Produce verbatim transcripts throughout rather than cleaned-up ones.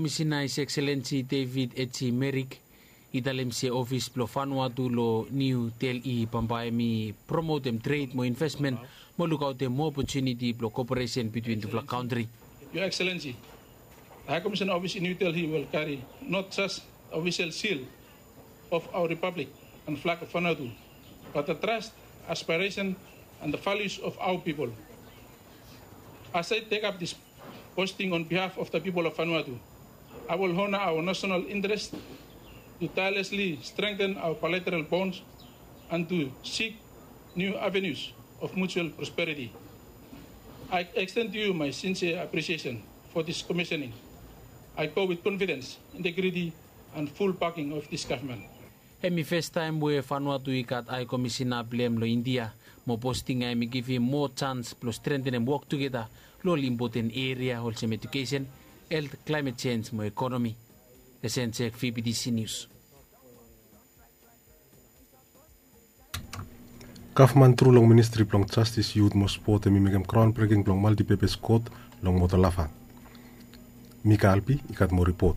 Komisena His Excellency David H C Merrick i talem se ofis blong Vanuatu long New Delhi bambae hem i promotem tred mo investmen mo lukaotem moa opotuniti blong koperesen bitwin tufala kantri. Your Excellency, the High Commission Office in New Delhi will carry not just the official seal of our Republic and flag of Vanuatu, but the trust, aspiration, and the values of our people. As I take up this posting on behalf of the people of Vanuatu, I will honor our national interest to tirelessly strengthen our bilateral bonds and to seek new avenues of mutual prosperity. I extend to you my sincere appreciation for this commissioning. I go with confidence, integrity, and full backing of this government. Hem i fastaem we Vanuatu i gat Hae Komisena blong hem long India, mo posting ya hem i givim moa jans blong strentenem wok tugeta long ol impoten eria olsem ejukesen, helt, klaemet jenj mo ekonomi. Esen Jek, V B T C News. Gavman tru long Ministri blong Jastis, Yut mo Spot hem i mekem graon breking blong maltipepes kot long Motalava. Mika Albi i gat moa ripot.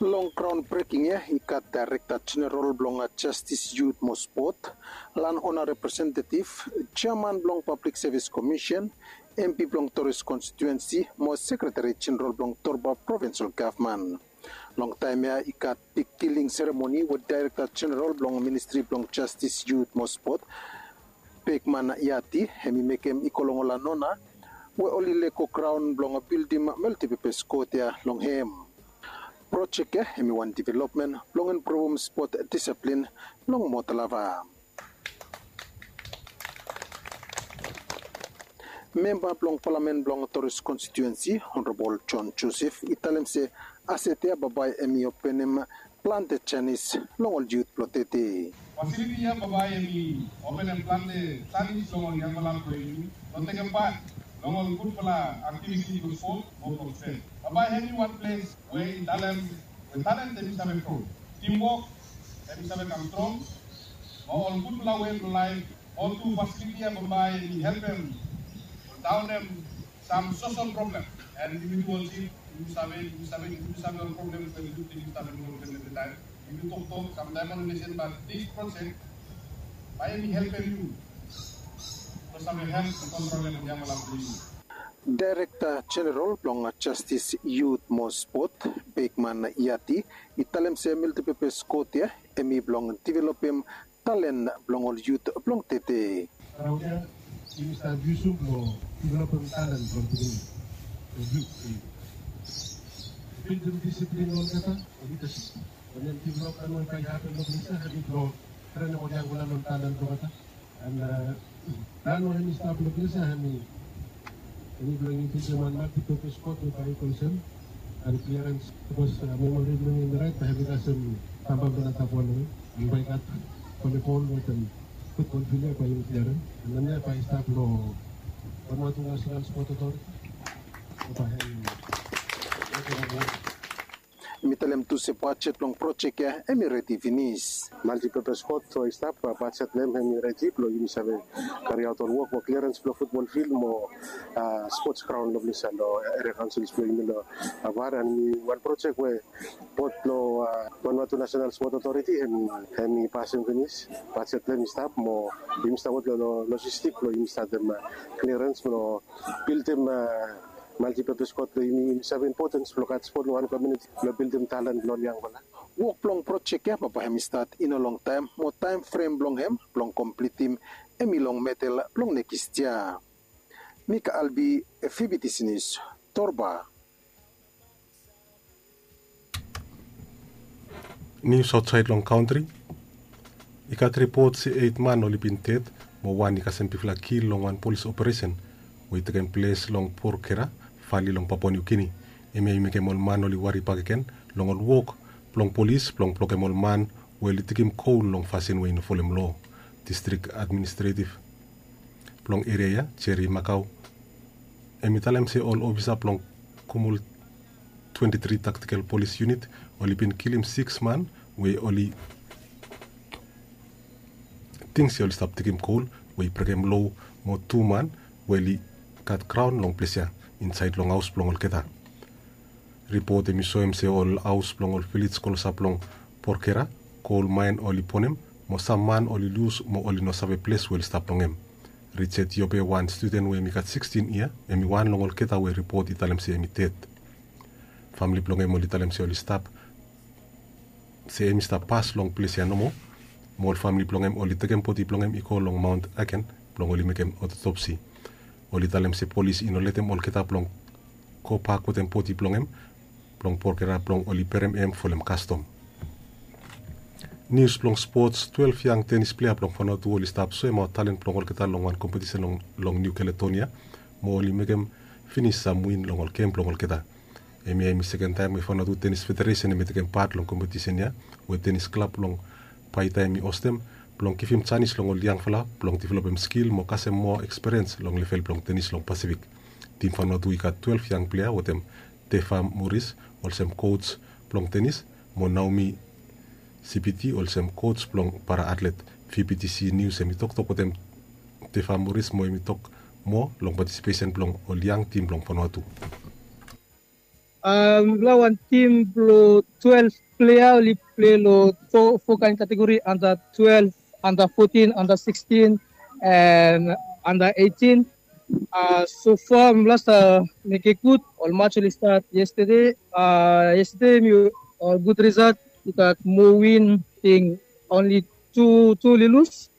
Long graon breking ya i gat Daerekta Jeneral blong Jastis, Yut mo Spot, Lanona Representetiv, Jeaman blong Pablik Sevis Komisen, M P blong Toris Konstituensi mo Sekretari Jeneral blong Torba Provensel Gavman. Long taem ya i gat bigkiling seremoni we Daerekta Jeneral blong Ministri blong Jastis, Yut mo Spot, Bekman Yati, hem i mekem i go long ol Lanona we oli lego graon blong bildim maltipepes kot ya long hem. Projek ya hem i wan developmen blong improvem spot disaplin long Motalava. Memba blong Palamen blong Toris Konstituensi, Honorabol John Joseph, i talem se aset ya bambae hem i openem plante janis long ol yut blong tede. Fasiliti ya bambae hem i openem plante janis long ol yangfala blong yumi blong tekem pat long ol gudfala aktiviti blong spot mo blong spen. Bambae hem i wan ples we i talem we talen hem i save gro, timwok hem i save kam strong, mo ol gudfala wei blong laef. Mo tu fasiliti ya bambae hem i helpem daonem sam sosol problem. And yumi tu ol yut, yumi save, yumi save, yumi save ol problem we yut yumi save ol problem evri taem. Yumi toktok samtaem ol nesen, bat dis projek bae hem i helpem yu blong save help long kontrolem ol yangfala blong yu. Daerekta Jeneral blong Jastis, Yut mo Spot, Bekman Yati, i talem se maltipepes kot ya hem i blong developem talen blong ol yut blong tede. Graon ya yumi stap yusum blong developem talen blong pikinini, blong yut. Bildim disiplin long olgeta, long lidasip. Wanem developmen we bae i hapen long ples ya hem i blong trenem ol yangfala long talen blong olgeta. And nao hem i stap long ples ya hem i, hem i blong inkludim wan maltipepes kot we bae i go olsem, and kliarens, sapos memori blong mi hem i raet, bae hem i kasem bambam blong antap wan we, and bae i gat volibol wetem futbol fil ya bae yumi kliarem. And hemia bae i stap long Vanuatu National Sport Authority. Bae hem i Hem i talem tu se bajet blong projek ya hem i redi finis. Maltipepes kot we i stap, bajet blong hem hem i redi blong yumi save kariaot ol wok mo kliarens blong futbol fil mo spots graon long ples ya long eria kaonsils blong yumi long Avar. And hem i wan projek we bot blong Vanuatu National Sport Authority hem i pasem finis. Bajet blong hem i stap mo yumi stap wok long lojistik blong yumi statem kliarens blong bildim maltipepes kot blong yumi. Yumi save impotens blong gat spot long wan komuniti blong bildim talen blong ol yangfala. Wok blong projek ya bambae hem i stat i no longtaem mo taem frem blong hem blong komplitim hem i long medel blong nekis yia. Mika Albi, Fibitisinis, Torba. Nius aotsaed long kantri. I gat ripot se eit man oli bin ded mo wan i kasem bigfala kil long wan polis operesen we i tekem ples long Porkera vali long Papua Niu Gini. Hemia i mekem ol man oli wari bakegen long ol wok blong polis blong blokem ol man we oli digim kol long fasin we i no folem loa. Distrik administretiv blong eria ya, Jeri Makau, hem i talem se ol ofisa blong Kumul twenti tri Taktikel Polis Yunit oli bin kilim sikis man we oli ting se oli stap digim kol we i brekem loa mo tu man we oli gat graon long ples ya insaed long haos blong olgeta. Ripot hem i soem se ol haos blong ol vilej klosap long Porkera, kol maen oli ponem, mo sam man oli lus mo oli no save ples we oli stap long hem. Richard Yobe, wan studen we hem i gat sikstin yia, hem i wan long olgeta we ripot i talem se hem i ded. Famle blong hem oli talem se oli stap se hem i stap pas long ples ya nomo. Mo ol famle blong hem oli tekem bodi blong hem i go long Mount Aken blong oli mekem otopsi. Oli talem se polis i no letem olgeta blong gobak wetem bodi blong hem blong Porkera blong oli berem hem folem kastom. Nius blong spots, twelef yang tenis plea blong Vanuatu oli stap soemaot talen blong olgeta long wan kompetisen long Niu Kaledonia, mo oli mekem finis sam win long ol gem blong olgeta. Hemia hem i sekentaem we Vanuatu Tenis Federesen hem i tekem pat long kompetisen ya, we tenis klab blong Paita hem i hostem, blong givim janis long ol yangfala blong developem skil mo kasem moa ekspiriens long level blong tenis long Pasifik. Tim Vanuatu i gat twelef yang plea wetem Tefa Moris olsem koj blong tenis, mo Naomi Sipiti olsem koj blong para atlet. VBTC Nius hem i toktok wetem Tefa Moris mo hem i tok moa long patisipesen blong ol yang tim blong Vanuatu. Mifala wan tim blong twelef plea oli plei long fo kaen kategori, anda twelef, anda fotin, anda sikstin, and anda eitin. So fa mifala stap mekem gud. Ol mats oli stat yestede. Yestede mi ol gud risat. I gat moa win, ting onli tu tu oli lus.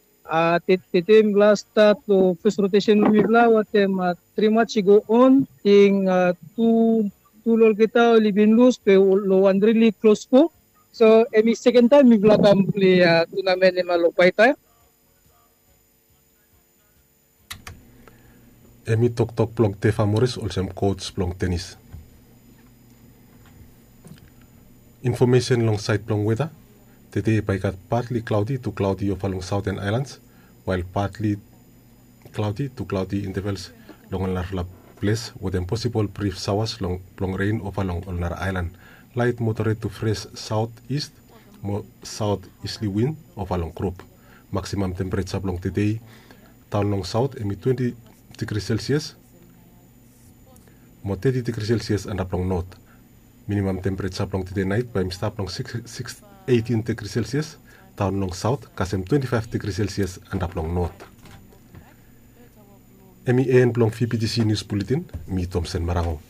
Tede mifala stat long fes rotesen blong mifala wetem tri mats i go on, ting tu long olgeta oli bin lus, be long wan rili klos go. So hem i sekentaem mifala kam plei tunamen hemia long Paita. Hem i toktok blong Tefa Moris olsem koj blong tenis. Infomesen long saed blong weta. Tede bae i gat patli klaodi tu klaodi ova long Saoten Aelans, wael patli klaodi tu klaodi intevels long ol narafala ples wetem posibol brif saoas blong ren ova long ol nara aelan. Laet moderet tu fres saotis mo saotisli win ova long grup. Maksimam tempereja blong tede daon long saot hem i twenti digri selsias mo teti digri selsias antap long not. Minimam tempereja blong tede naet bae hem i stap long eitin digri selsias daon long saot kasem twenti faef digri selsias antap long not. Hem i en blong VBTC Nius Buletin. Mi Tomsen Marango.